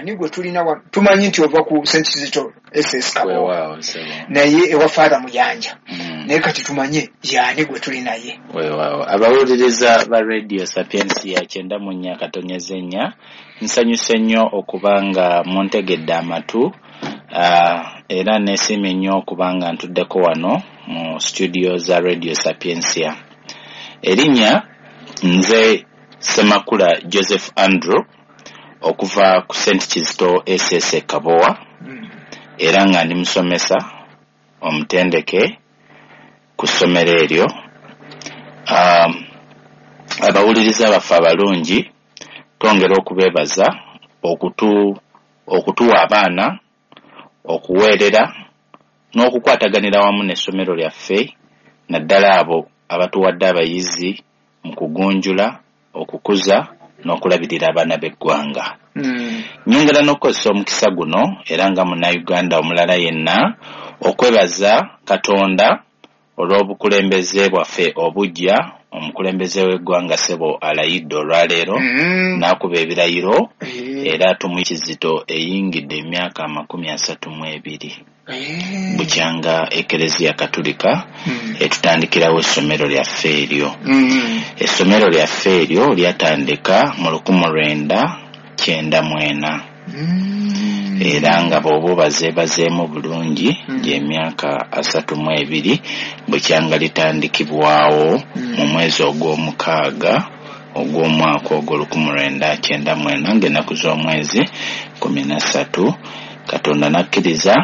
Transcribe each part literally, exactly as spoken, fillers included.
Ani gwe tulina wano? Tumanyi nti ova ku Saint Kizito S S Kabowa, naye ewa Father Muyanja, mm. naye kati tumanye yaani gwe tuli naye. Weewaawo, abawuliriza ba Radio Sapientia kyenda mu nnya katonyeze nnya, nsanyuse nnyo okuba nga muntegedde amatu, uh, era neesiimye nnyo okuba nga ntuddeko wano mu studio za Radio Sapientia. Erinnya nze Ssemakula Joseph Andrew okuva ku Saint Kizito S S Kabowa, mm. era nga ndi musomesa omutendeke ku ssomero eryo. Um, abawuliriza baffe abalungi twongera okubeebaza okutu okutuwa abaana, okuweerera n'okukwataganira wamu n'essomero lyaffe, naddala abo abatuwadde abayizi mu kugunjula, okukuza n'okulabirira abaana b'eggwanga. Mm. Nyongera n'okukozesa omukisa guno era nga munnayuganda omulala yenna okwebaza Katonda olw'obukulembeze bwaffe obujja. Omukulembeze w'eggwanga Ssebo alayidde olwaleero, mm. n'akuba ebirayiro, mm. era tumuwa Kizito eyingidde emyaka amakumi asatu mu ebiri, mm. bukyanga Ekereziya Katulika mm. etutandikirawo essomero lyaffe eryo. Mm. Essomero lyaffe eryo lyatandika mu lukumi lwenda kyenda mu ena, mm. era nga bw'oba obazeebazeemu bulungi, mm. gy'emyaka asatu mu ebiri bukyanga litandikibwawo, mm. mu mwezi ogw'omukaaga ogw'omwaka ogwo lukumi lwenda kyenda mu ena, ng'ennaku z'omwezi kumi na ssatu. Katonda n'akkiriza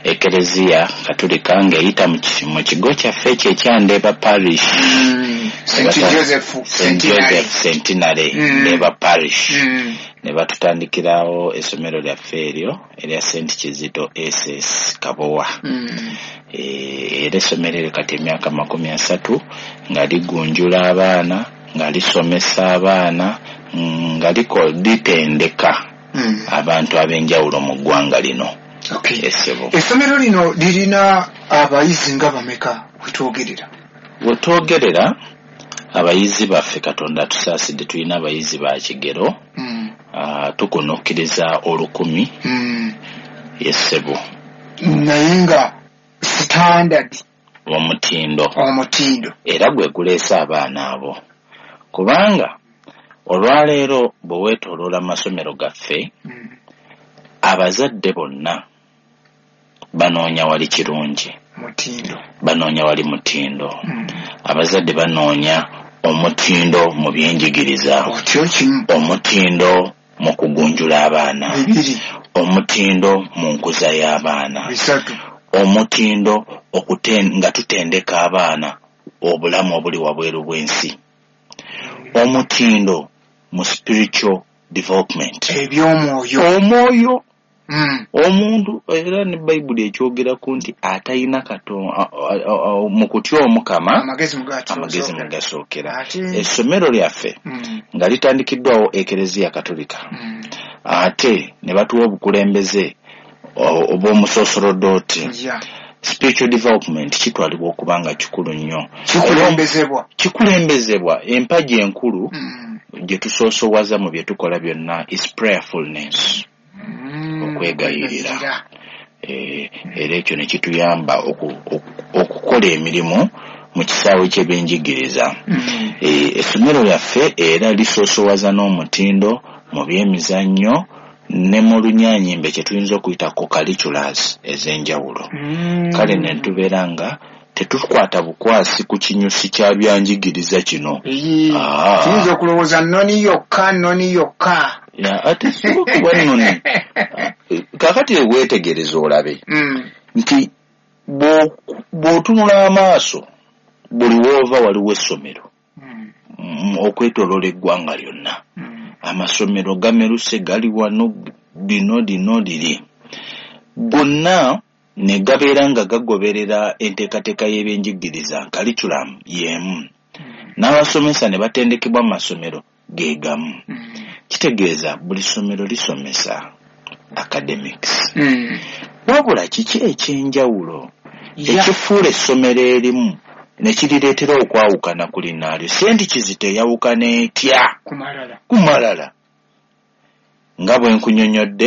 Ekereziya Katulika ng'eyita mu kigo kyaffe ekyo ekya Ndeeba Parish, mm. Saint Joseph Joseph Centenary, mm. Ndeeba Parish, mm. ne batutandikirawo essomero lyaffe eryo erya Saint Kizito S S Kabowa. Mm. E, era essomero eryo kati emyaka makumi asatu nga ligunjula abaana, nga lisomesa abaana, nga litendeka, mm. abantu ab'enjawulo mu ggwanga lino. Okay. Essomero lino lirina abayizi nga bameka wetwogerera? Wetwogerera abayizi baffe, Katonda atusaasidde, tulina abayizi ba kigero, mm. uh, tukunukkiriza olukumi, mm. yessebo, naye nga standard omutindo omutindo era gwe guleese abaana abo, kubanga olwaleero bwe weetooloola amasomero gaffe, mm. abazadde bonna banoonya wali kirungi, mutindo, banoonya wali mutindo. Mm. Abazadde banoonya omutindo mu byenjigiriza, omutindo mu kugunjula abaana, omutindo mu nkuza y'abaana, omutindo nga tutendeka abaana obulamu obuli wabweru bw'ensi, omutindo mu spiritual development, eby'omwoyo, omwoyo. Mm. Omuntu era ne Bayibuli ekyogeraku nti atalina Katonda mu kutya Omukama amagezi mugasookera. Essomero lyaffe, mm. nga litandikiddwawo Ekereziya Katulika, mm. ate ne batuwa obukulembeze obw'omusoosorodooti, yeah. Spiritual development kitwalibwa okuba nga kikulu nnyo, kikulembezebwa kikulembezebwa. Empagi enkulu, mm. gye tusoosowaza mu bye tukola byonna is prayerfulness, mm. okwegayirira. E, era ekyo ne kituyamba okukola emirimu mu kisaawe ky'ebyenjigiriza. Mm. E, essomero lyaffe era lisoosowaza n'omutindo mu byemizannyo ne mu lunyaanyimbe kye tuyinza okuyita co-curriculars ez'enjawulo. Mm. Kale ne tubeera nga tetukwata bukwasi ku kinyusi kya byanjigiriza kino. Tuyinza okulowooza nnoni yokka, nnoni yokka. Ate si kuba nnoni. Kaakati weetegereze olabe, mm. nti bw'otunula amaaso buli w'ova waliwo essomero, mm. okwetooloola eggwanga lyonna. Mm. Amasomero gameruse, gali wano, lino lino liri, gonna ne gabeera nga gagoberera enteekateeka y'ebyenjigiriza, curriculum y'emu, mm. n'abasomesa ne batendekebwa mu masomero ge gamu. Mm. Kitegeeza buli ssomero lisomesa academics. Mm. Wabula kiki ekyenjawulo Yeah. ekifuula essomero erimu ne kirireetera okwawukana ku linnaalyo? Saint Kizito eyawukana etya Kumalala. ku malala? Nga bwe nkunyonnyodde,